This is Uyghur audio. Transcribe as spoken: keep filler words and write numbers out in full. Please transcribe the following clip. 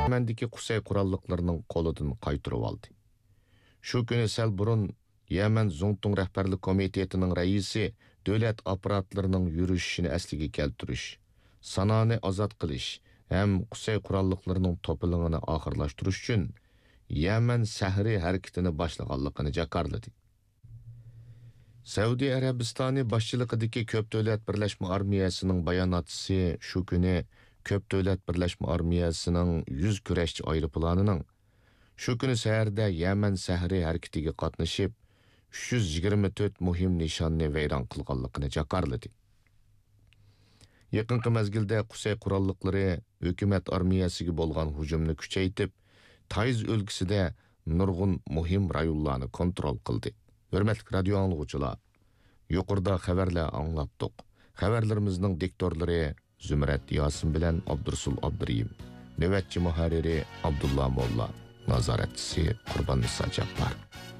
يەمەندىكى قۇسەي قوراللىقلىرىنىڭ قولىدىن قايتۇرۇۋالدى. شۇ كۈنى سەل بۇرۇن يەمەن زۇڭتۇڭ رەھبەرلىك كومىتېتىنىڭ رەئىسى دۆلەت ئاپپاراتلىرىنىڭ يۈرۈشۈشىنى ئەسلىگە كەلتۈرۈش، سانانى ئازاد قىلىش ھەم قۇسەي قوراللىقلىرىنىڭ توپىلىڭىنى ئاخىرلاشتۇرۇش ئۈچۈن يەمەن سەھىرى ھەرىكىتىنى باشلىغانلىقىنى جاكارلىدى. سەئۇدى ئەرەبىستانى باشچىلىقىدىكى كۆپ دۆلەت بىرلەشمە ئارمىيەسىنىڭ باياناتچىسى شۇ كۈنى كۆپ دۆلەت بىرلەشمە ئارمىيەسىنىڭ يۈز كۈرەشچى ئايروپىلانىنىڭ شۇ كۈنى سەھەردە يەمەن سەھىرى ھەرىكىتىگە قاتنىشىپ، ئۈچ يۈز يىگىرمە تۆت مۇھىم نىشاننى ۋەيران قىلغانلىقىنى جاكارلىدى. يېقىنقى مەزگىلدە قۇسەي قوراللىقلىرى ھۆكۈمەت ئارمىيەسىگە بولغان ھۇجۇمنى كۈچەيتىپ، تايز ئۆلكىسىدە نۇرغۇن مۇھىم رايونلارنى كونترول قىلدى. ھۆرمەتلىك رادىيو ئاڭلىغۇچىلار، يۇقىرىدا خەۋەرلەر ئاڭلاتتۇق. خەۋەرلىرىمىزنىڭ دىكتورلىرى زۇمرەت ياسىن بىلەن ئابدۇرۇسۇل ئابدۇرېھىم، نۆۋەتچى مۇھەررىرى ئابدۇللا موللا، نازارەتچىسى قۇرباننىسا جاپپار.